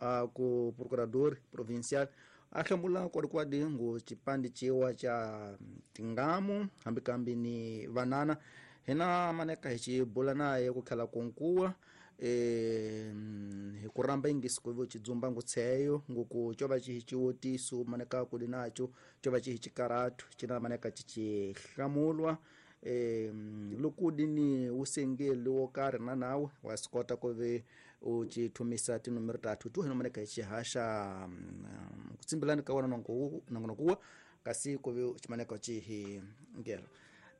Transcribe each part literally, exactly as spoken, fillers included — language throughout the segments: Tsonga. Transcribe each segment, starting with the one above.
a ku procurador provincial a hlamula kwadikwadi ngu xipandi ciwa ca tingamu hambi kambi ni vanana hina maneka hi xibula naye ku tlhela kunkuwa eh hi ku ramba ingisi ku xidzumba ngutseyo nguku co va xi xiwotiso maneka ku li naco co va xi xikaratu xina maneka xi hlamulwa eh loko dini usengeli wo karhi na nawe wa swi kota ku ve u ci thumisa tinomero tatu tu hina maneka hi xihaxa ku tsimbilani ka wona nongonoko wa kasi ku ve ximaneka xi hi ngela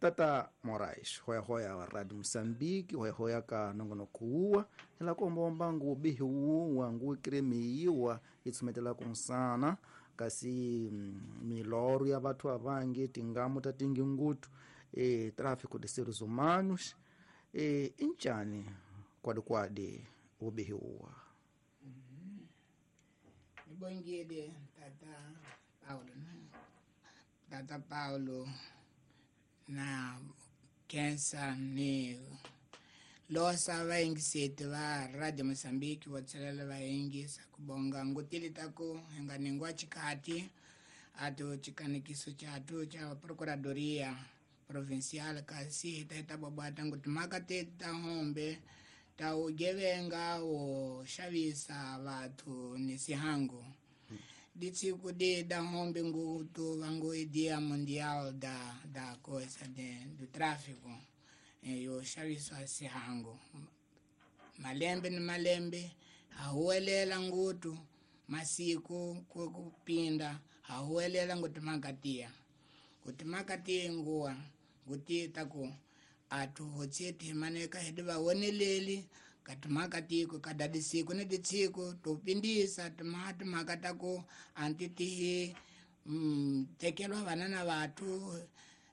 Tata Moraes hoya hoya wa Radio Mozambique hoya hoya ka nongonoko wa hila komba ngu bihi wa ngu kremiwa itsumetela kunsana kasi miloro ya batho abangi tingamu ta tingingutu e tráfico de seres humanos e inchani kwadi kwadi ubihi wa Nibongile Tata Paulo Tata Paulo na kensa ni losa vaingiseti va Radio Mozambique vo tshelela vaingisa kubonga ngutili taku nga ningwa chikati ato chikanikiso chatu cha Procuradoria Provincial kasi taita babata nguti makate ta hombe ta ugevenga o xavisa vathu ni sihangu ditsiku de da hombe ngutu vangu Dia Mundial da da coisa de do tráfico yo xaviswa sihangu malembe ni malembe hahuwelela ngutu masiku kupinda hahuwelela ngutu makatia kuti makatia nguwa nguti taku atu hotseti maneka hedi vawoneleli katimakatiko kadadisiku ni ditsiku topindisa timati makatako antitihi mm, tekelwa vanana vathu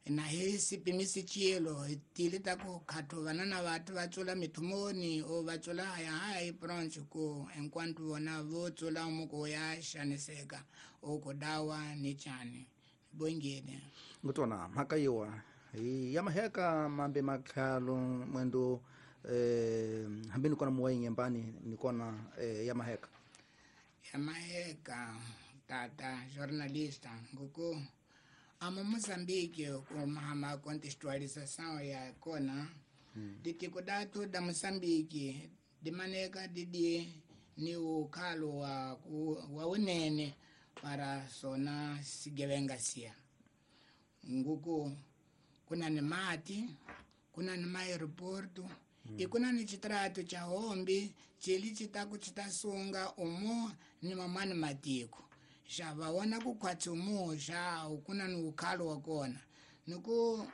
na hi sipimisi chilo hi tili taku khathu vanana vathu va tsula mithumoni o va tsula haya hayi bronze ku enquanto vona vo tsula muko ya xaniseka o ku dawa ni chani bongile ngutona mhaka yiwa hi ya maheka mambe makhalo mwendo eh hambi ni kona muwa nyembani ni kona eh, ya maheka ya maheka tata jornalista nguku amo Mozambique ku mahama contextualização ya kona hmm. Ditiko datu da Mozambique dimaneka didi ni ukhalo wa wa unene para sona sigevenga sia nguku kuna ni mati kuna ni aeroporto mm. Ikuna ni chitrato cha hombi chili chitaku chitasunga umo ni mamani matiko xa vaona ku khwatsi umo xa kuna ni ukhalo wa kona niku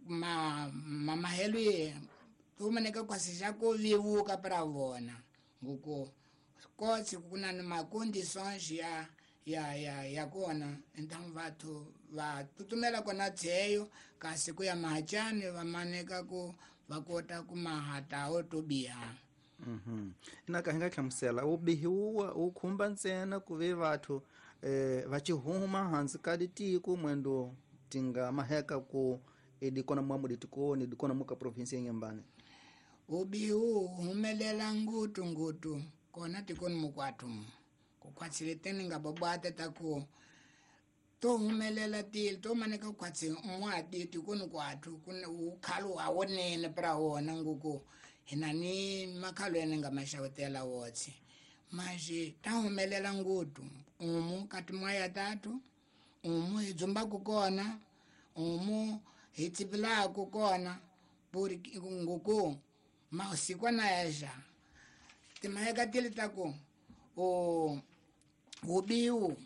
ma mamahelo ye tumaneka kwasi xa ku vivuka para vona nguku kotsi kuna ni macondições ya ya ya ya kona então vathu va tutumela kona tseyo kasi ku ya mahachani va maneka ku va kota ku mahata o to biha mhm ina ka hinga hlamusela u bihiwa u khumba ntsena ku ve vathu eh va chihuma hansi ka ditiko mwendo tinga maheka ku edikona mwa muditikoni dikona muka province ya Nyambane ubihu humelela ngutu ngutu kona tikoni mukwathu kukhwatsile teni nga babata taku to humelela tili to maneka kukhwatsi mwati tikoni kwathu kuna ukhalo awonene pra wona nguku hina ni makhalo ene nga maxawutela wotsi maji ta humelela ngutu umu kati mwaya tatu umu hi dzumbaku kona umu hi tsipilaku kona puri nguku mausikwana yaxa timaheka tili taku o ubiu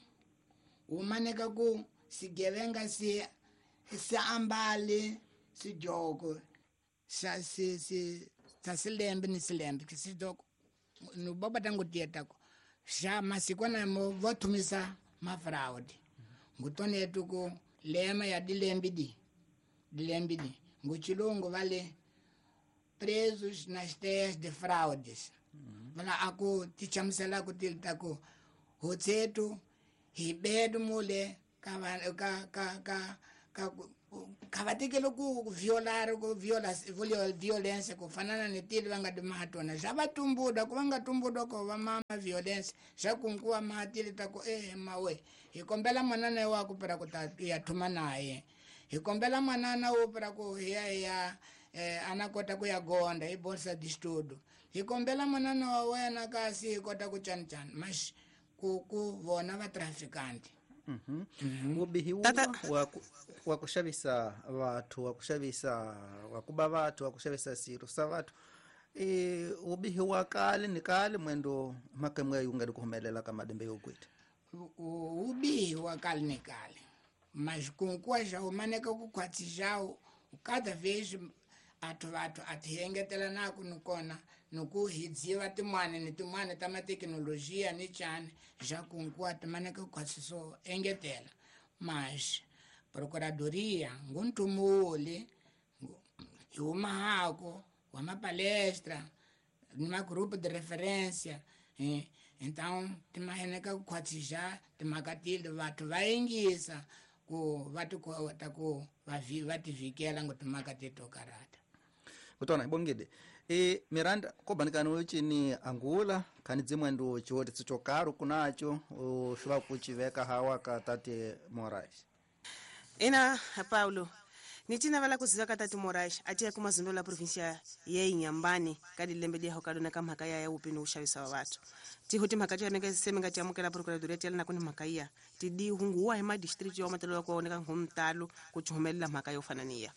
umaneka ku sigevenga si si ambali sijoko sa si si sa silembe ni silembe sidoko no baba tangu tietako xa masikwana mo vothumisa mafraud ngutone yetu lema ya dilembi di dilembi di nguchilungu vale presos nas terras de fraudes vala aku tichamusela ku tilita ku hotsetu hi bedu mule ka ka ka ka ka Kha va tekele ku violar ku viola violence ku fana na netili va nga di mahatona xa va tumbuda ku va nga tumbuda ko va mama violence xa kunkuwa mahatili ta ku eh mawe hi kombela manana wa ku para ku ta ya thuma naye hi kombela manana wo para ku ya ya eh ana kota ku ya gonda hi bolsa de estudo hi kombela manana wa wena kasi hi kota ku chan chan mas ku ku vona va traficante. Mhm. Ubihi wa wa kuxavisa vathu wa kuxavisa wa kuba vathu wa kuxavisa siro sa vathu e ubihi wa kale ni kale mwendo makemwe yunga dikuhumelela ka madembe yokwita ubihi wa kale ni kale mas kunkuwa já umaneka ku khwatsijao cada vez athu vathu athiengetela naku nikona nuku hidziva timwana ni timwana ta mathekinolojiya ni chani já kunkuwa timaneka khwatsiso engetela mas procuradoria nguntumuli hi humahako wa mapalestra ni magrupo de referência eh? Então timaheneka ku khwatsija timhaka tile vathu va yingisa ku va ti kota ku va va tivikela ngo timhaka teto karata. Kutona ibongede e Miranda kobanikana uchini angula khani dzimwendo chiwoti tsichokaro kunacho ushuva kuchiveka hawa ka tate Moraes. Ina Paulo nitina vala kuziva ka tate Moraes atiya kumazindo la provincia ya Inhambane ka dilembe dia hokadona ka mhaka ya upini uxavisa wa vathu tiho timhaka ti aneke semenga ti amukela procuradoria ti yalana kuni mhaka iya ti di hunguwa hi madistrict yo matelo ku oneka ngomtalo ku chumelela mhaka yo fana niya.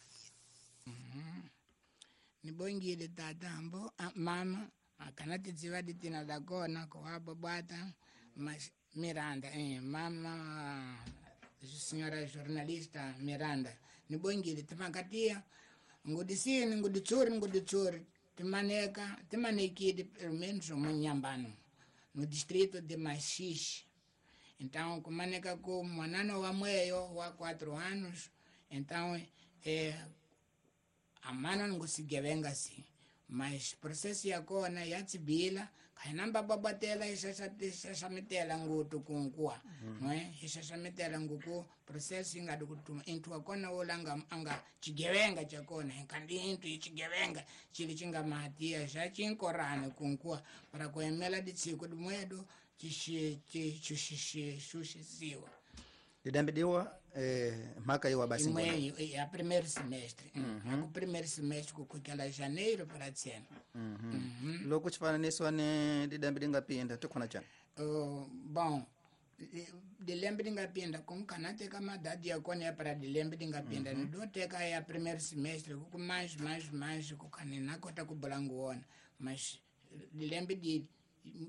Nibongile tata hambo mama akana tidziva ditina da kona ko ababata mas Miranda eh mama senhora jornalista Miranda nibongile timakatia ngudisini nguditsuri nguditsuri timaneka timanekile pelo menos um Inhambane no distrito de Maxixe. Então kumaneka ku mwanana wa mweyo wa quatro anos então eh amana ngusigevenga si mas processo ya kona ya tsibila khainamba babatela ishasamitela ngutu kunkuwa mm. eh ishasamitela nguku processo inga dukutuma intu akona wolanga anga chigevenga chakona kandi intu ichigevenga chili chinga mahatia sha chinkorane kunkuwa para kuemela ditsiko dimwedo chishi chishi shushisiwa didambidiwa eh mhaka yo basi ngona ya primeiro semestre mm -hmm. Primeiro semestre kukela janeiro para tsena mm -hmm. mm -hmm. Loko chifananiso ne didambi dingapinda tikhona chana uh, bom dilembe dingapinda kumkana teka madadi yakona ya para dilembe dingapinda mm -hmm. Ndoteka ya primeiro semestre kuku mais mais mais kukane nakota kubula nguona mas dilembe di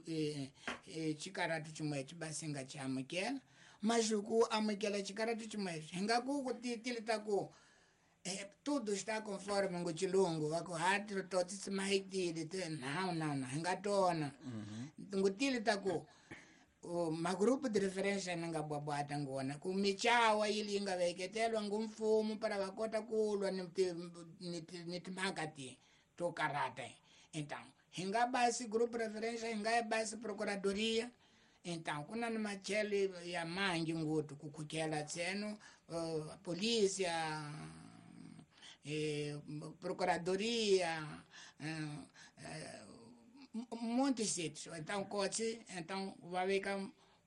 eh, eh, chikaratu chimwe chibasinga chamukela mas ku amukela chikaratu chimwe hinga ku kutilita ku eh, tudo está conforme ngo chilungu vako hati toti mahitili te não não não hinga tona ngutilita ku magrupo de referência nga bwabwata ngona ku michawa ili inga veketelwa ngumfumo para vakota kulwa ni ni timhaka ti to karata. Então hinga basi grupo de referência hinga basi procuradoria. Então kuna ni machele ya mangi ngutu kukhukela tseno uh, polícia eh, procuradoria eh, eh, muitos sítios. Então coche então vai ficar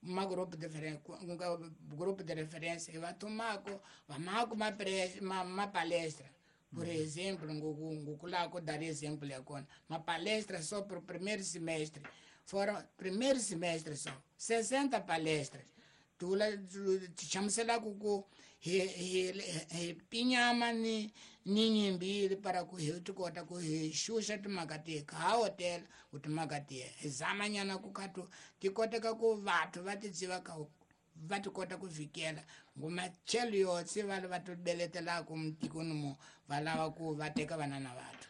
uma grupo de referência um grupo de referência vai tomar vai marcar uma uma, uma palestra por uhum. Exemplo nguku dar exemplo agora uma palestra só para o primeiro semestre. Foram primeiro semestre só sessenta palestras tula chamusela kuku he he pinyama ni ni nyimbili para ku he tikota ku he xuxa timhaka ti ka hotel ku timhaka ti hi zamanyana ku katu tikoteka ku vathu va tidziva ka va tikota ku vikela ngumachelo yotse va va tibeletelaka mutikoni mo va lava ku va teka vanana vathu.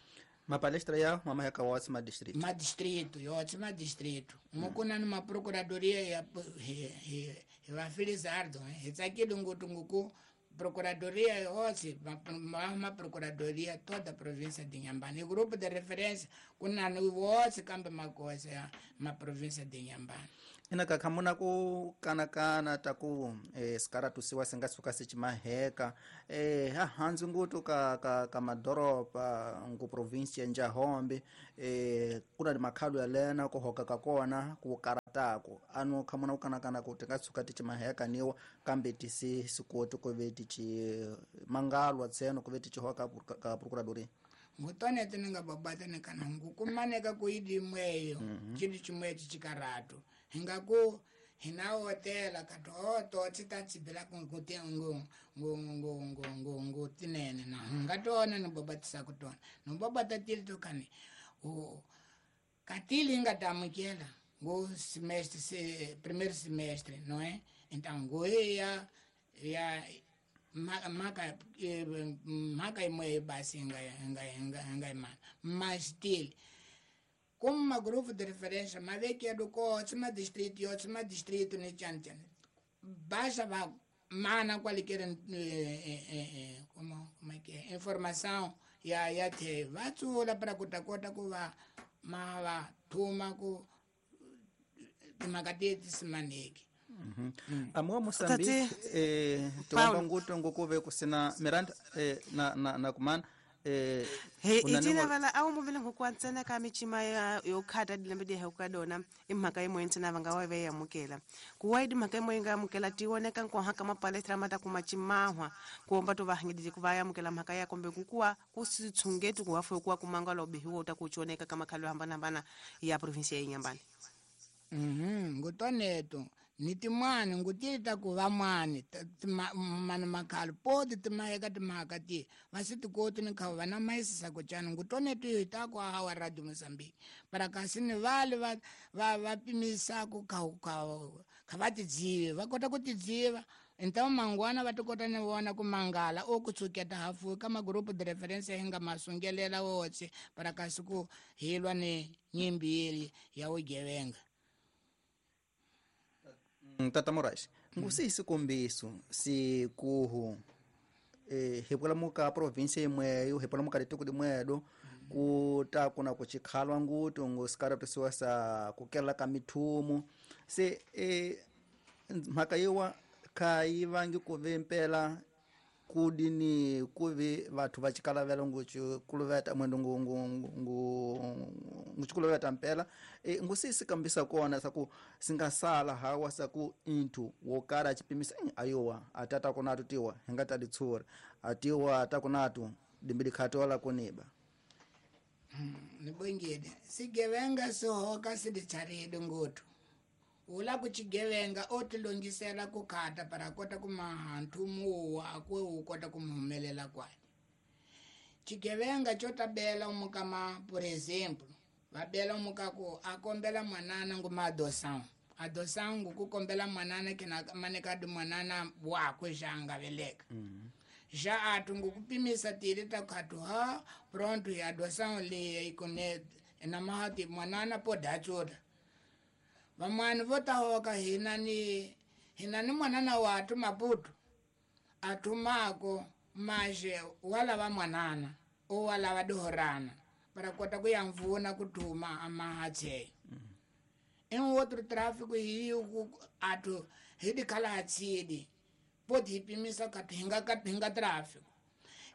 Mapalestra ya mama ya kawatsi ma distrito. Ma distrito, yotsi ma distrito. Mukuna ni ma procuradoria ya he he va Felizardo, he tsakile ngutu nguku Procuradoria yose ma procuradoria toda a província de Inhambane. Grupo de referência kunani wose kambe makosa ya ma província de Inhambane. Ina ka khamuna ku kanakana ta ku eh, sikaratusiwa si nga suka si cimaheka eh, hahandzi ngutu ka, ka, ka madoropa ngu província Njahombe eh, kuna ni makhalu ya lena ku hoka ka kona ku karataku anu khamuna ku kanakana ku ti nga tshuka ti cimaheka niwa kambe ti si sikoti ku ve ti ci mangalwa tseno ku ve ti ci hoka ka procuradoria. Ngutonete ni nga babata ni kana ngukumaneka ku idimweyo chili chimwe chichikaratu hingaku hina hotela kato to tita tsibela ku ngu ngu ngu ngu ngu ngu ngu tinene na ngatona ni babatisa kutona no babata tili to kani o katili ngatamukela ngu semestre se primeiro semestre, não é? Então ngu ya ya maka maka imwe basi nga nga nga nga mana mas tili como uma grupo de referência, mas é que é do co, ma distrito, outro ma distrito, ne chan chan. Baixa va mana qualquer eh, eh, eh, como como é que é informação ya ya te va tsula para kuta kota ku va ma va thuma ku timakateti simaneki. Amuwa Moçambique eh tomba nguto ngukuve kusina Miranda eh, na na na kumana Eh, he itina vala awu muvile ngokwantsena ka michima ya yokhata dilembe di hekadona imhaka imwe ntsena vanga wa ve yamukela kuwaidi mhaka imwe nga yamukela tioneka nkoha ka mapalestra mata kumachimahwa kuomba to vahangidije kuva yamukela mhaka ya kombe kukuwa kusitshungetu kuwafu kuwa kumangala obihiwa utakuchoneka kama khalo hambana hambana ya provinsia ya Inhambane. Mhm ngutoneto nitimwani ngutita ku vamwani mani makhalo poti timaheka timhaka ti vasitikoti ni kha va na maisisa ku cana ngutoneto hi ta ku hawa Radio Mozambique para kasi ni vale va va va pimisaku kha kha kha va tidzive va kota ku tidziva então mangwana va tikota ni vona ku mangala o ku tsuketa hafu ka magrupu de referência hi nga masungelela wotse para kasi ku hilwa ni nyimbi ya vugevenga. Tata Moraes, ngusi sikombiso sikuhu eh hipula muka província imweyo hipula muka litiko limwedo kuta kuna kuchikhalwa ngutu ngusikaratusiwa sa kukela ka mithumu se eh mhaka yiwa khayi vangi kuve mpela kudini kuve vathu va chikalavela nguchikuluveta mwendo ngu ngu ngu nguchikuluveta mpela e ngusisi kambisa kona saku singasala hawa saku inthu wokara chipimisa ayowa atata kunatu tiwa hingata ditsura atiwa atakunatu dimbili khatola kuniba nibongile sigevenga sihoka sidicharidi ngutu ula kuchigevenga otilongisela kukhata para kota kumaha nthumu akwe ukota kumuhumelela kwani chigevenga chotabela umukama por exemplo vabela umukaku akombela mwanana nguma adoção adoção ngukukombela mwanana kina manekadi mwanana wakwe janga veleka mm -hmm. já atu ngukupimisa tili takhatu ha pronto ya adoção le ikone namahati mwanana podatsula vamwani vo tahoka hina ni hina ni mwanana watu Maputo atumako maje wala va mwanana o wala va dihorana para kota ku ya mvuna kutuma amahatshe mm. Em outro tráfico hi atu hi dikhala hatsidi poti hi pimisa kati hinga kati hinga tráfico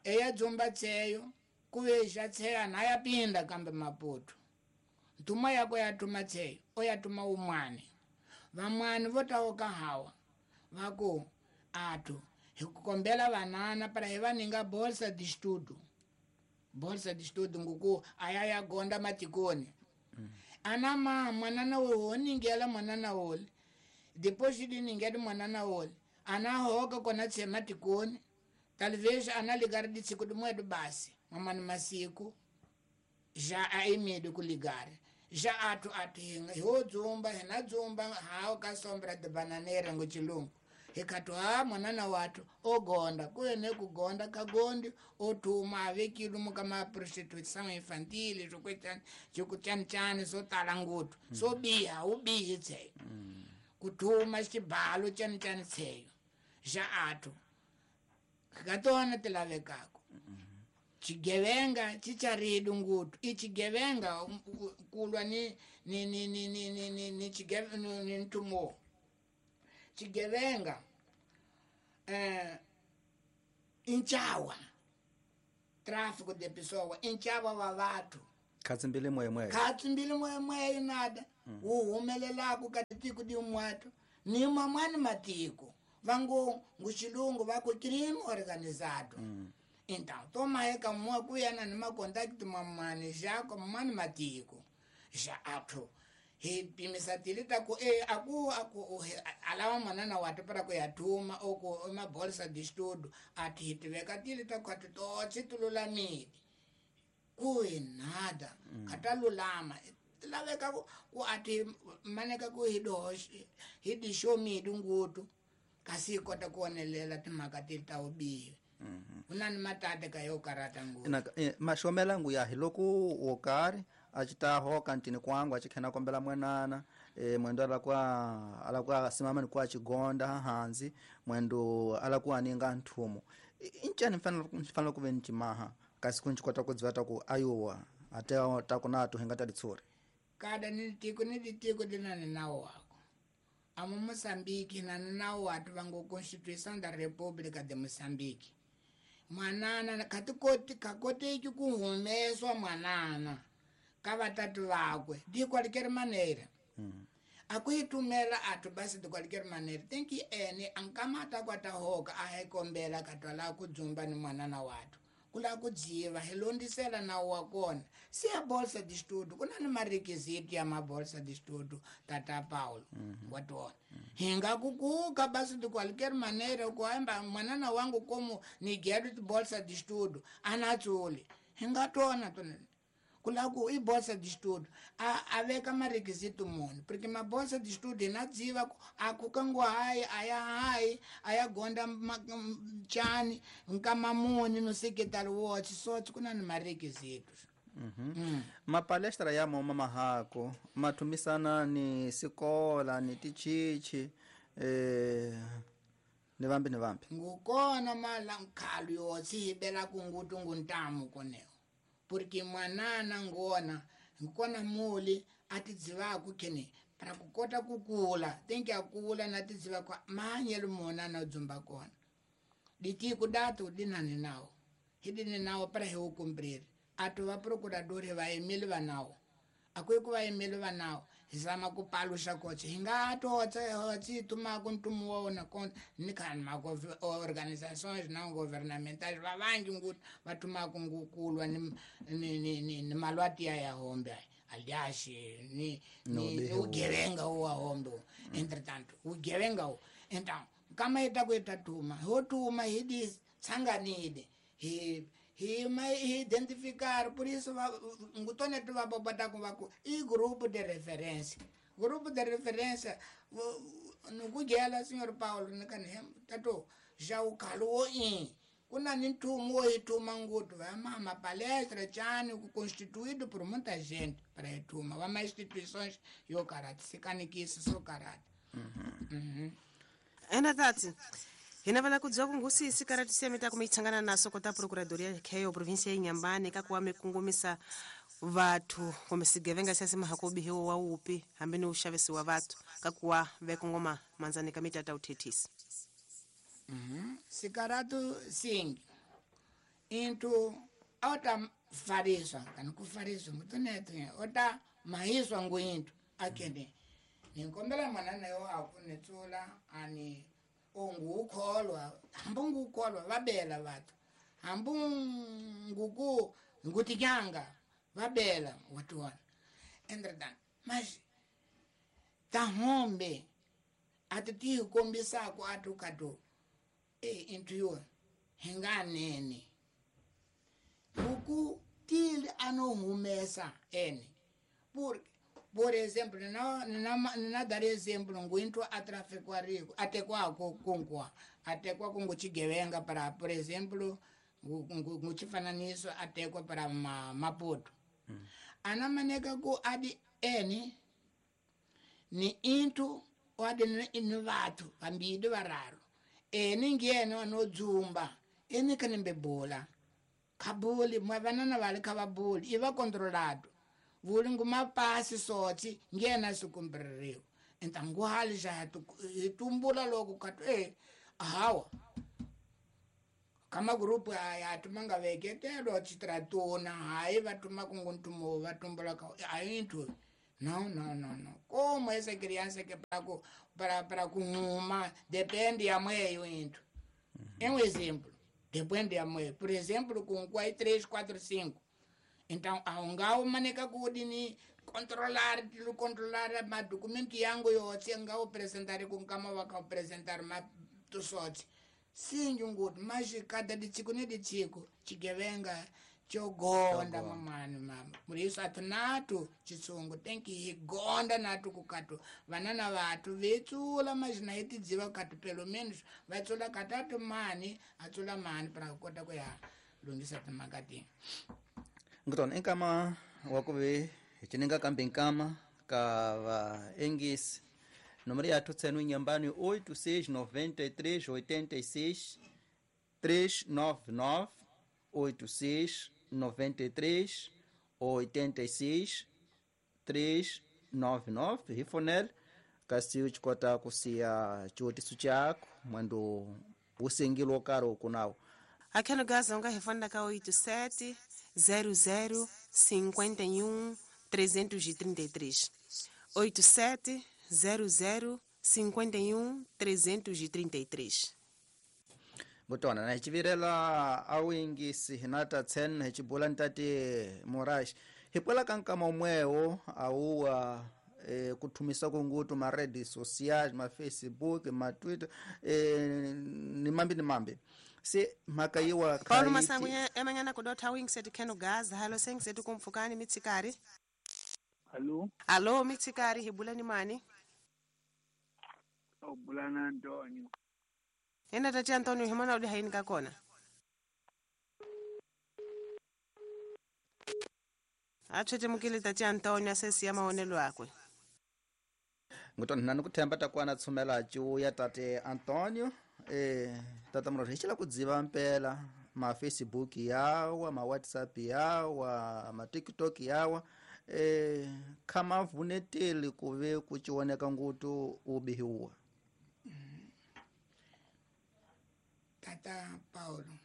eya dzumba tseyo kuveja tseya na ya pinda kambe Maputo ntuma yako yatuma tseyo oyatuma umwane vamwani vo taoka hawa vaku atu hikukombela vanana para hi vaninga bolsa de estudo bolsa de estudo nguku aya ya gonda matikoni mm. Ana ma mwanana wo ningela mwanana wole depois de ningela mwanana wole ana hoka kona tse matikoni talvez ana ligar de tsiku de basi mamani masiku já aimido ku ligar já atu atu ho dzumba hina dzumba hao ka sombra de bananeira ngo chilungu hikatu ha mwanana watu ogonda kuene kugonda kagondi otuma avekilu mukama prostituição infantil zokwetani jokuchanchani sotala ngutu mm. Sobiha ubihi tseyo mm. Kutuma xibalo chanchani tseyo já atu Katona ti lavekako. Chigevenga chicharidu ngutu. Ichigevenga kulwa ni ni ni ni ni ni ni ni chigevenga ni ntumo. Chigevenga eh inchawa. Tráfico de pessoa, inchawa wa watu. Katsi mbili mwemwe. Katsi mbili mwemwe nada. Mm. Uhumelelaku katiko di umwatu. Ni mamani matiko. Vangu nguchilungu vako crime organizado. Mm. Então, toma eka mwa kuyana ni makontakti mamani jako mamani matiko. Ja ato. He pimisa tilita ku e aku aku alawa manana watu para ku yatuma oko ma bolsa de estudo ati hitiveka tilita ku atu to tululamidi. Kui nada. Mm. Katalulama. Laveka ku, ku ati maneka ku hido hidi show mi dungutu. Kasi kota kuonelela timhaka ti ta ubihi. Unani matata ka yo karata ngutu. Na eh, mashomela ngu ya hiloko wo karhi a ci ta hoka ntini kwangu a ci khena kombela mwenana eh, mwendo ala kwa ala kwa simama ni kwa chigonda hanzi mwendo ala kwa ninga nthumo incani mfanelo mfanelo ku ve ni cimaha kasi ku nci kota ku dzivata ku ayowa ate ta ku na tuhenga ta litsuri kada ni tiko ni tiko dinani nawo wako. Amo Moçambique na nawo watu vango Constituição da República de Moçambique. Mwanana katikoti kakoteki kuhumeswa mwanana ka vatatu vakwe de qualquer maneira. Mm. Akuitumela atu basi de qualquer maneira. Tem que ene ankamata kwata hoka ahe kombela katwala kudzumba ni mwanana watu. Kula kudziva hilondisela na wakona. Se a bolsa de estudo, kuna ni marequisito ya mabolsa de estudo tata Paulo. Mm -hmm. Watona. Mm -hmm. Hinga kukuka basi de qualquer maneira kuamba mwanana wangu como ni quero de bolsa de estudo, anatsuli. Hinga tona tona. Kula ku i bolsa de estudo, a aveka marequisito muni, porque ma bolsa de estudo inadziva akukangwa hai aya hai aya gonda chani nkamamuni no secretary watch so kuna ni marequisitos. Mhm. Mm. Ma palestra ya mama mahako matumisana ni sikola ni tichichi eh ni vambi ni vambi. Ngukona mala nkhalu yotsi hibela kungutu nguntamu koneo. Porque mwanana ngona ngikona muli atidziva kukene para kukota kukula tenki akula na tidziva kwa manyelo mona na dzumba kona diti kudatu dinani nawo hidini nawo para he ukumbrir atu va procurador va emile va nawo akwe ku va emile va nawo hizama kupalusha koche hinga totse hotsi tuma kuntumu wona kon nikan ma organizações não governamentais va vangi nguti vatuma kungukulwa ni ni ni, ni, ni malwati ya hombe aliás ni ni ugevenga wa hombe. Entretanto ugevenga então kama ita kuita tuma hotuma hidi tsanganide he he mai identificar por isso ngutone tu va bota com vaku e grupo de referência grupo de referência no kugela senhor Paulo nakane tato já o calou em kuna ni ntumo ituma ngutu va mama palestra chani constituído por muita gente para ituma va mais instituições yo karate sikanikisa so karate. Mhm. Ena tati hina vala kudzwa kungusi sikarati semeta kumitsangana naso kota procuradoria kheyo provincia ya Inhambane kakuwa mikungumisa vathu kumbe sigevenga siasi mahakobi hiwo wa upi hambi ni uxavisi wa vathu kakuwa vekongoma manzani ka mitata uthethisi. Mhm. Sikaratu sing into ota fariswa kan ku fariswa mutoneto ota mahiswa nguintu akene ninkombela mwanana yo akunetsula ani ongukholwa hambungukholwa vabela vathu hambunguku ngutikyanga vabela watuwana entretanto mas tahombe ati tikombisako atu e into yo hinganene uku tili anohumesa ene por por exemplo na na na dar exemplo nguinto atraficuarico até kwa konkwa até kwa kunguchigevenga para por exemplo nguchifananiso até kwa para ma, Maputo. Mm. Anamaneka ku adi ene ni into adi ni vatu vambidi vararo ene ngeno anodzumba Ene ka nimbe bola kabuli mwavanana vale kavabuli iva controlado vuli ngumapasi sotsi ngena sukumbririwa entangu hali ja tumbula loko katu eh hawa kama grupu ya tumanga veketelo chitratuna hayi vatuma kunguntumo vatumbula ka ayintu no no no no como essa criança que para para para kuma depende ya mweyo into é um exemplo depende ya mweyo por exemplo com quatro três quatro cinco então aungao maneka kudini controlar controlar ma documento yangu yotse ngao apresentar com kama waka apresentar ma tusotse sinjunguti mas cada ditsiko ne ditsiko chigevenga chogonda mamani mama muriso atinatu chitsungu tenki higonda natu kukatu vanana vatu vetsula mazina hetidziva katu pelo menos vatsula katatu mani atsula mani para kota kuya lungisa timakati ngitona enkama wakuve hichininga kambe nkama ka va engisi número ya tutsenu inyambani oito seis nove três oito seis três nove nove oito seis nove três oito seis três nove nove hifonel kasi uchikota kusiya chiwotiso chako mwendo usengilo karo ukunawo akheno gaza unga hifonela ka oito sete zero zero cinquenta e um trezentos e trinta e três oito sete zero zero cinquenta e um trezentos e trinta e três ngutona na hichivirela awingisi hinata tsen hichibula ntate Moraes hipwela kankama umwewo auwa e, kuthumisa kungutu ma redes sociais ma Facebook ma Twitter e, ni mambi ni mambi se mhaka yiwa Paulo Masangu emanyana kudotha awingisi etikheno gaza halo sengisi kumfukani mitsikari. Allo? Allo, mitsikari hibula ni mani? Obulana Antonio. Ena tati Antonio himona udi haini kakona. Achete mukile tati Antonio asesi ya maonelo akwe. Ngutona nani kuthemba takwana tsumela chuya tate Antonio eh tata mro hichila kudziva mpela ma Facebook yawa ma WhatsApp yawa ma TikTok yawa eh kama vuneteli kuve kuchioneka ngutu ubihiwa. Tata Paulo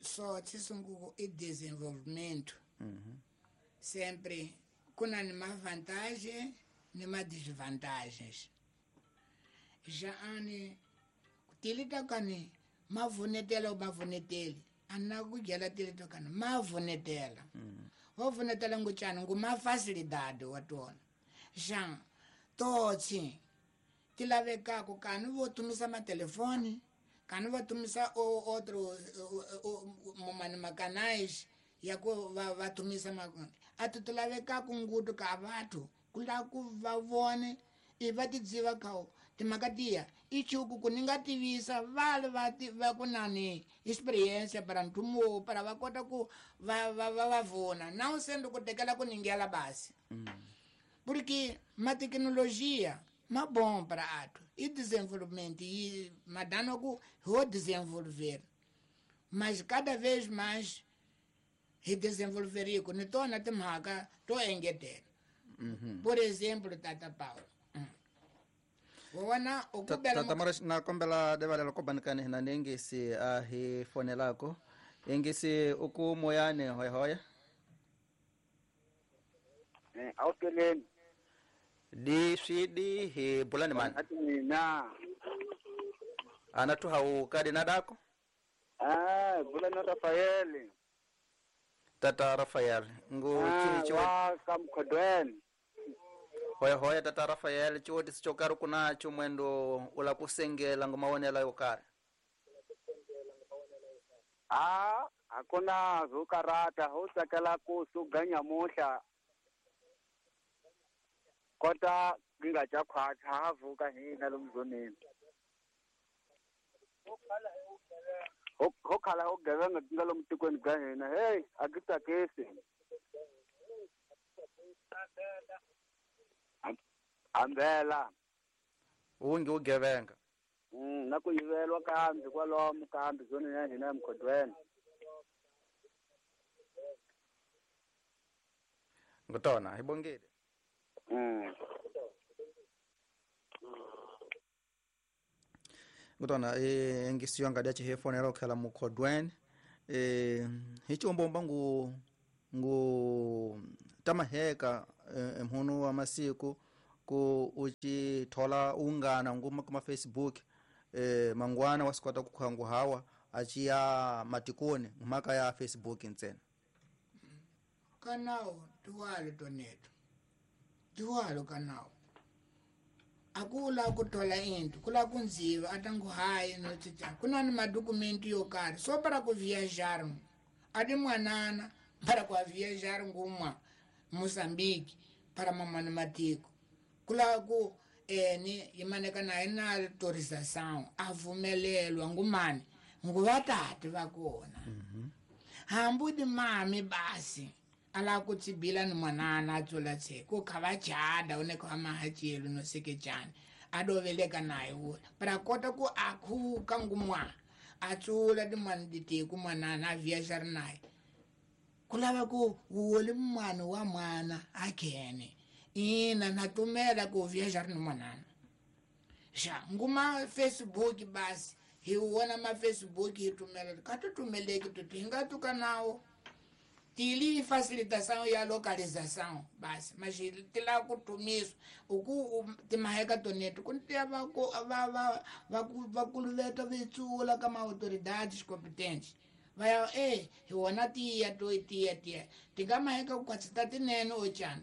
só tisungu e desenvolvimento uhum. Sempre kuna nima vantagem nima desvantagens já ane tilita kani mavunetela o mavuneteli ana kujela tilita kani mavunetela mm. Vovunetela nguchana nguma facilidade watona já totsi tilavekako kani votumisa matelefone kani votumisa o outro mumani makanais ya ku vatumisa atu tilavekako ngutu ka vathu kula ku va vone i va tidziva kao timakatia ichuku kuninga tivisa vale va va kunani experiência para ntumo para va kota ku va va va vona não sendo ku tekela ku ningela basi mm. Porque ma tecnologia ma bom para ato e desenvolvimento e madano ku ho desenvolver mas cada vez mais e desenvolver ko ni tona timhaka to engetela. Mm-hmm. Por exemplo tata Paulo wona ukubela tata Moraes na kombela devalela ko banikani hina nengisi a hi fonelako engisi uku moyane hoya hoya eh aukeleni di swidi hi bulani mani mina ana tu hau kadi na dako ah bulani Rafael tata Rafael ngu ah, chi wa kamkhodweni hoya hoya tata Rafael chiwoti sichokari kunacho mwendo ula kusengela ngomawonela yokari ah akuna zukarata ho tsakela ku suganya muhla kota ngingaja khwacha havuka hina lomzoneni ho khala ho gevenga nga lomtikweni ga hina hey akitsakisi ambela ungi ugevenga Mm na ku yivelwa kambi kwalomu kambi zone ya hina emkhodweni. Ngutona hi bongile. Mm. Ngutona eh ngisiyo ngadi achi hefonela okhala mukhodweni eh hichombomba ngu ngu tamaheka emhunu wa masiku ku uchi thola ungana nguma kuma Facebook eh mangwana wasikwata kukhangu hawa achiya matikoni mhaka ya Facebook ntsena kanao tuwalo toneto tuwalo kanao akula kuthola into kula kunziva atangu hayi notsitsa kunani madokumenti yo karhi so para ku viajar adi mwanana para ku viajar ngumwa Mozambique para mamana matiko kula ku eni yimaneka naye na autorização avumelelwa ngumani nguvatati vakona mm-hmm. Hambudi mami basi ala kutsibila ni mwanana atsola tse ku kha chada une kwa mahachelo no sekejani adoveleka naye wo para kota ku akhuka ngumwa atsula di mwana ku mwanana a viajar naye kulava ku woli mwana wa mwana akhene ina natumela ku viajar ni mwanana xa nguma Facebook basi hi wona ma Facebook hi tumela ka tumeleki tuti hi nga tuka nawo tili facilitação ya localização basi mas tila kutumiswa uku timaheka toneto kuntia va va va va vakuluveta vitsula kama autoridades competentes vaya eh hi wona tiya to tiya tiya tingamaheka ku kwatsa tinene ochana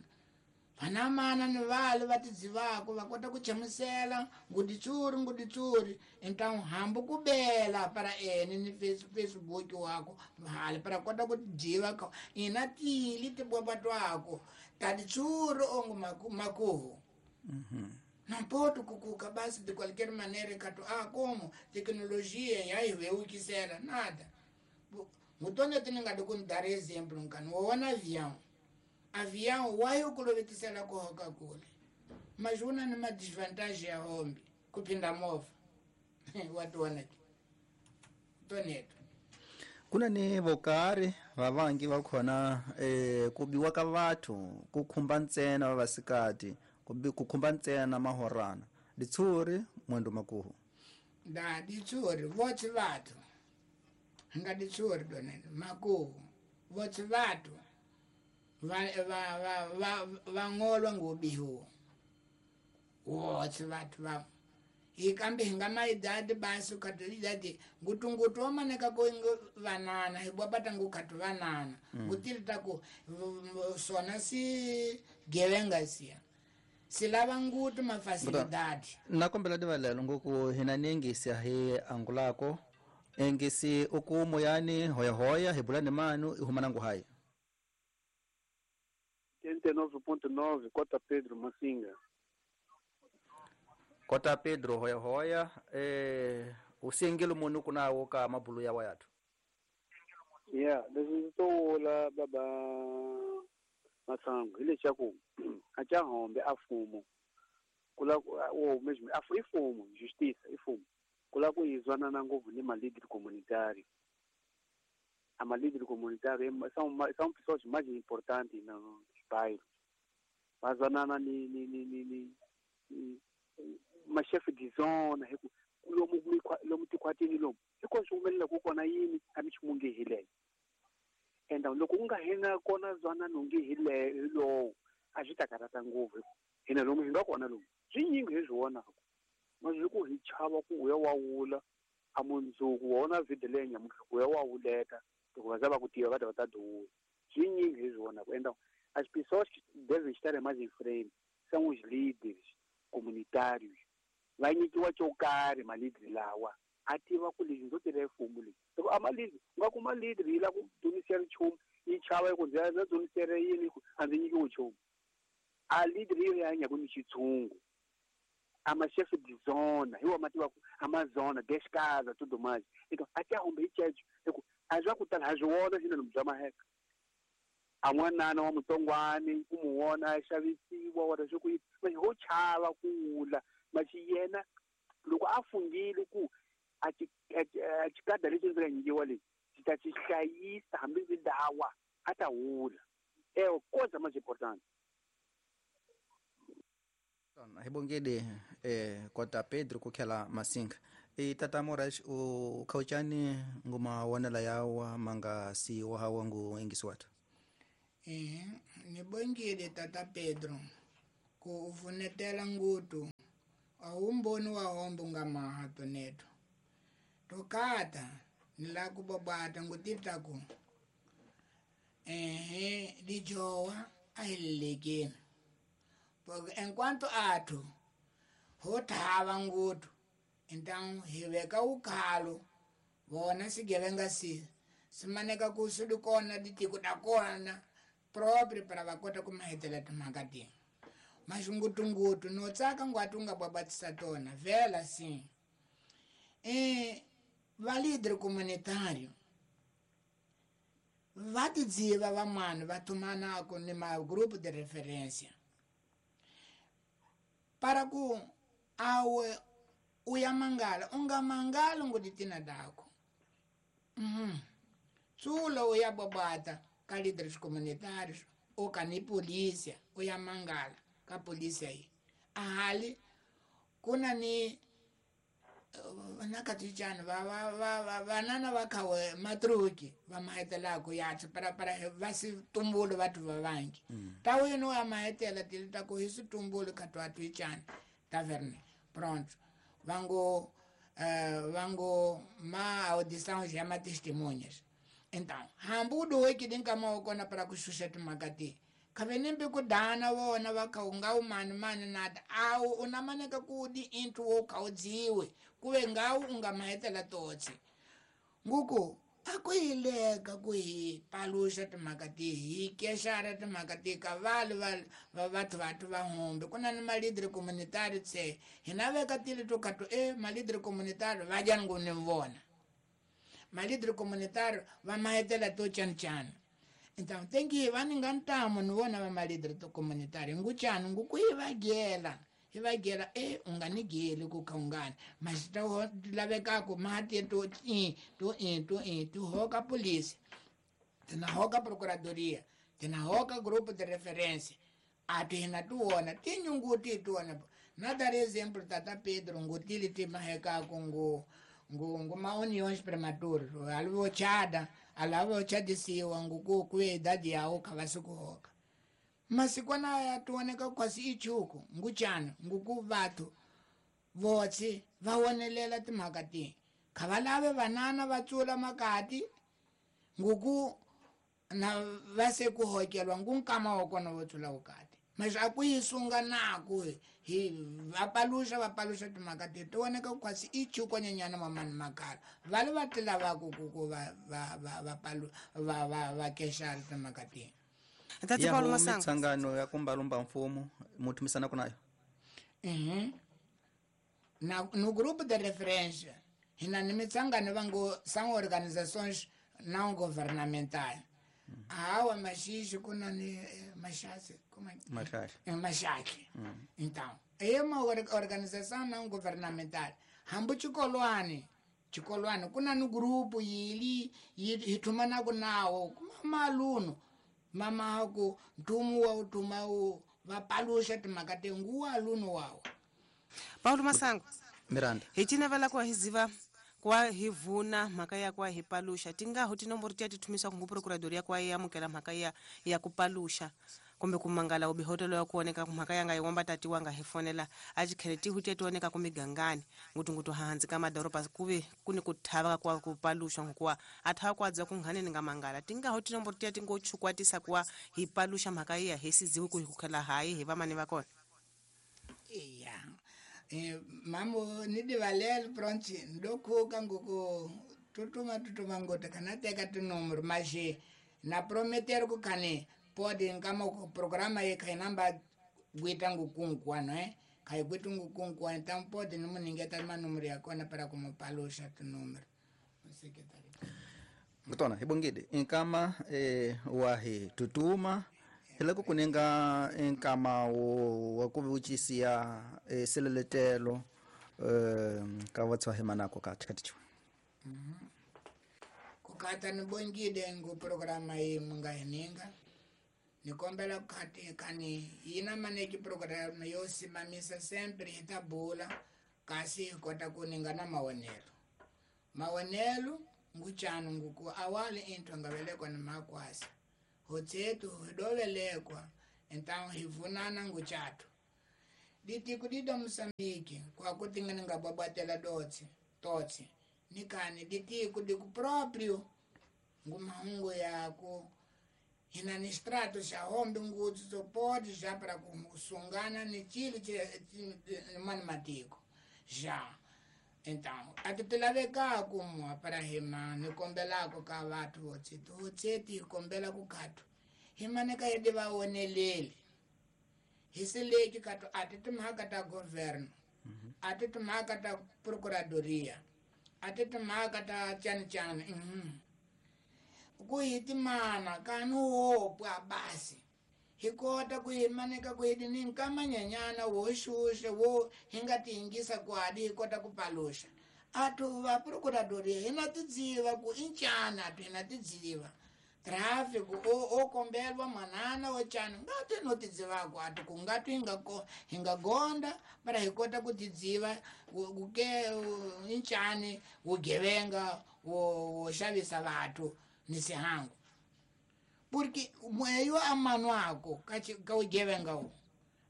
vanamana ni vale va tidzivako va kota ku chamusela nguditsuri nguditsuri então hambu kubela para ene ni Facebook wako hali para kota ku dziva ka ina tili tibwaba twako taditsuri ongo makuhu mhm não pode kukuka basi de qualquer maneira kato ah como tecnologia ya iweukisela nada mutone tininga dar exemplo nkani wona avião avião wayo kulovetisela kuhoka kule mas una ni madesvantagem ya hombi kupinda mova watuona toneto kuna ni vokari vavangi va khona eh kubiwa ka vathu ku khumba ntsena vavasikati ku khumba ntsena mahorana ditsuri mwendo makuhu da ditsuri votsi vathu nga ditsuri donene makuhu votsi vathu va va va va vangolwa ngubihu wotsi vathu va ikambe hinga maidadi basi ukatolidadi ngutungutu wamaneka ko vanana hibwapata ngukatu vanana ngutilita ku sona si gevenga siya silava ngutu mafasilidadi nakombela divalelo ngoku hina nengisi hi angulako engisi ukumo yani hoyahoya hibulani manu ihumana nguhayi oitenta e nove ponto nove Cota Pedro Massinga. Cota Pedro hoya hoya eh usengelo munu kunawo ka mabulu ya wayathu. Yeah, leswi ndzi to vula baba Masango hi leswaku a ca hombe a fumo kula o mesmo a ifumo justiça ifumo kula ku izwanana ngopfu ni malíder comunitário. A malíder comunitário são são pessoas mais importantes nos bairros. Vazwanana ni ni ni ni ni ma chef de zone lomu lomu tikhwatini lomu hikuva swi humelela ku kona yini a mi ximunge hi leyo enda loko u nga hina kona zwanano nge hi lowo a swi ta karhata ngopfu hina lomu hi nga kona lomu swi nyingi hi swi vonaka mas ku hi chava ku uya wa wula a mundzuku wona video leyi nyamutlha ku ya wa wuleta loko va za va ku tiva va ta va ta duwula swi nyingi hi swi vonaka enda as pessoas que devem estar mais em frente são os líderes comunitários va nyikiwa xo karhi malidri lawa a tiva ku lexi ndzo tirha mfumo leyi loko a malidri u nga kuma lidri yi lava ku dzunisela nchumu yi chava yi ku ndzi ya dzunisela yini a ndzi nyikiwi nchumu a lidri yo ya hanyaka ni xitshungu a ma chef de zona hi wa ma tivaka a ma zona dez casa tudo mais então até hombe hi ceco hi ku a swa ku tala ha swi vona swinene bya maheka a n'wanana wa mutsongwani ku mu vona a xavisiwa wara swi ku yini ho chava ku wula maxi yena Loko a fungile ku a ci a cikada lexi ndzi nga nyikiwa lexi xi ta xi hlayisa hambi ndzi dawa a ta hula. É coisa mais importante. Hi bongede eh kota Pedro ku khela Masinga. E tata Moraes u khauchani nguma wonela yawa manga si wa hawa ngu ingisiwata. Eh ni bongile tata Pedro ku uvunetela ngutu awumboni wa hombo nga maha toneto. Tokata ni la ku bobata ngutitaku eh lijowa ahilekeni. Porque enquanto athu ho thava ngutu então hiveka ukhalo vona sigevenga si simaneka ku swi kona ditiko da kona próprio para va kota ku mahetela timhaka ti mas ngutungutu no tsaka ngwatu nga babatisa tona vela sim e va líder comunitário va tidziva vamani va tumanako ni ma grupo de referência para ku awe uyamangala ungamangala ngoditina dako mhm tsulo uyababata ka líderes comunitários ou ka ni polícia uyamangala ka polícia aí ahali kuna ni nakatichana va va va vanana va khawe matruki va mahetela ku ya para para va si tumbulu vathu va vangi ta wena wa mahetela tilita ku hi situmbulu ka twa twichana taverne pronto vango uh, vango ma audição já ma testemunhas então hambudo weki dinka ma kona para kushusha timakati kavenembe kudana vona vakaunga umani mani nada awu unamaneka kudi into wokaudziwe kuve ngawu ungamahetela totsi nguku akuyileka kuhi palusha timhaka ti hi kexara timhaka ti ka vale va vathu vathu va humbe ku na ni malidre communitary tse hina veka tili to kato e malidre communitary va dyani ngu ni vona malidre communitary va mahetela to chancana. Então tem que va ni nga ntamu ni vona va malidre to communitary nguchani nguku hi va gela hi va gela e u nga ni geli ku kha ungani mas ta lavekaku mati to i to i to i to hoka polícia tina hoka procuradoria tina hoka grupo de referência a tina tu wona tinyunguti tu wona na dar exemplo tata Pedro ngutili ti mahekaku ngu ngu ngu ma uniões prematuras alvo chada alavo chadisiwa nguku ku idade yawo kavasikuhoka masikwana ya tuoneka kwasi ichuku nguchana nguku vathu votsi va wonelela timhaka ti khavalave vanana va tsula makati nguku na va se ku hokelwa ngu nkama wa kona vo tsula vukati mas a ku yi sunga naku hi va paluxa va paluxa timhaka ti ti voneka kwasi ichuku nyenyana mamani makala va le va ti lavaku ku ku va va va va palu va va va kexara timhaka ti Tati Paulo Masango mitsangano ya kumbalumba mfumo muthumisana kunayo mhm na no grupo de referência hina ni mitsangano vango são organizações não governamentais. Hawa maxixi kuna ni maxaxi como é maxaxi é maxaxi. Então é uma organização não governamental hambu chikolwani chikolwani kuna ni grupo yili hithumana kunawo maluno mama ku ntumu wa utuma u va palusha timhaka te nguwa aluno wawo. Paulo Masango Miranda hi cinavela ku hiziva kwa hi vuna mhaka ya kwa hi palusha tingaho tinomboro tiya tithumisa ku procuradoria kwa ya amukela mhaka ya ya ku palusha kumbe kumangala ubihotelo ya kuoneka mhaka yanga yiwomba tatiwa nga hi fonela a chikhele tihu tiya tioneka ku migangani ngutungutu hansi ka madoroba kuve kuni ku thava kwa ku palusha ngokuwa a thava kwa dza ku nghaneni nga mangala tingaho tinomboro tiya tingo chukwatisa kwa hi palusha mhaka ya hi siziwe ku hi kukhela hayi hi vamani va kona. Iya eh mamo ni divalele pronto ndokhuka ngoko tutuma tutuma ngota kana teka tinomero mas na prometer ku khane pode nkama ku programa ye kha namba gwita ngukunkuwa eh kha gwita ngukunkuwa então pode ni muningeta manumero ya kona para como palusha tinomero secretary ngutona hibongide inkama eh wahi tutuma hiloko kunenga nkama wo wa ku vuchisiya e seleletelo eh ka vatshwa hi manako ka chikati mhm kukata ni bongile ngu programa yi munga hininga nikombela kati kani yina maneki programa yo simamisa sempre hitabula kasi kota kuninga na mawonelo mawonelo nguchanu nguku awali into ngavelekwa ni makwasi hotsetu hidovelekwa então hivunana nguchatu ditiku dida Moçambique kwa kutingana ngababatela dotsi totsi nikani ditiku diku próprio ngumahungu yako hina ni strato xa hombe ngutsu sopoti já para kusungana ni chilo mani matiko já então atitilaveka kumwa para hima nikombelako ka vathu votseti votseti hikombela kukatu himaneka yedi vawoneleli hisileki katu ati timhaka ta governo ati timhaka ta procuradoria ati timhaka ta chani chani mm-hmm. Kuhitimana kanu wopwa basi hikota kuhimaneka kuhidini nkamanyanyana woshushe wo hingatingisa kwadi hikota kupalusha atu va procuradoria hina tidziva ku inchana atu hina tidziva traffic o o kombelwa manana wochana ngati notidzivako atu kungati hingako hingagonda para hikota kutidziva kuke inchani ugevenga wo xavisa vathu nisihangu porque mweyo amano ako ka ugevenga o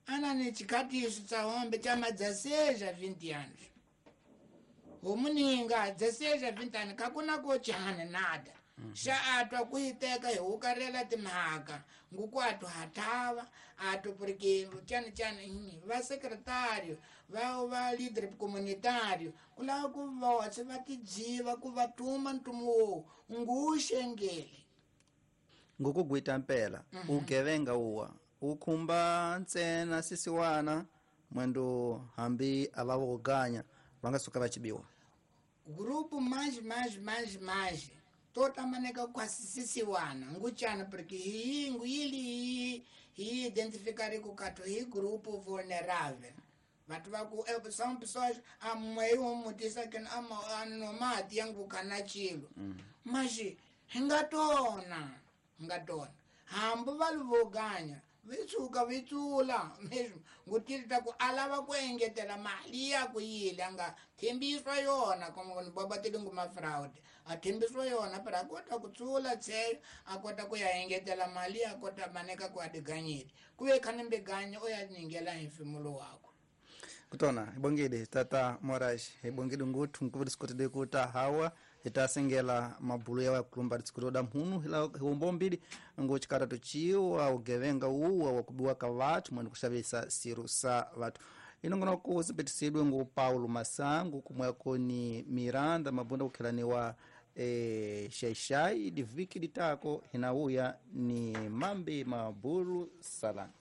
ana ni chikatiso tsa hombe chama dezesseis a vinte anos omuninga dezesseis a vinte anos kakuna ko chana nada xa atwa kuiteka hi hukarela timhaka nguku atu hatava atu porque chani chani va secretário va va líder comunitário kulava ku votse va tidziva ku va tuma ntumu wowu nguxengeli ngukugwita mpela ugevenga uwa ukhumba ntsena sisiwana mwendo hambi ava voganya va nga suka va chibiwa grupo mais mais mais mais tota maneka kwasisisiwana nguchana porque hi nguyili hi identificar ku kato hi grupo vulnerável vatu va ku são pessoas amwe umutisa que ama anomati yangu kana chilo mas hingatona hingatona hambu valuvoganya vitsuka vitsula mesmo ngutirita ku alava ku engetela mali ya ku yile anga thembiswa yona como ni babatele nguma fraud a thembiswa yona para a kota ku tsula tsheyo a kota ku ya engetela mali a kota maneka ku adiganyile ku ve khani mbeganya o ya ningela hi mfimulo wako kutona hibongile tata Moraes hibongile nguthu nkuva disikotile kuta hawa hitasengela mabulu yawa yakulumba disikutoda mhunu hila hiwombo mbili ngochikaratu chiwa ugevenga uwa wakubiwa ka vathu mwene kuxavisa siru sa vathu inongonoko zipetisidwe ngu Paulo Masangu kumweko ni Miranda Mabunda kukhelaniwa e, xaixai diviki ditako hinauya ni mambi mabulu salani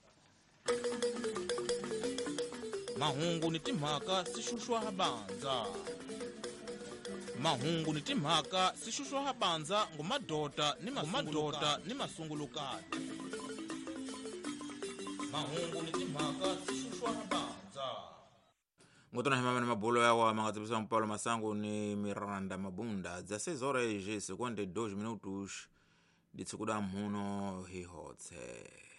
mahungu ni timhaka sixuxwa habanza mahungu ni timhaka sixuxwa habanza ngumadota ni mamadota ni masungulukati mahungu ni timhaka sixuxwa habanza ngotona himama ni mabulo yawa mangatsibisa Paulo Masangu ni Miranda Mabunda dezesseis horas e cinquenta e dois minutos ditsikuda mhuno hihotse.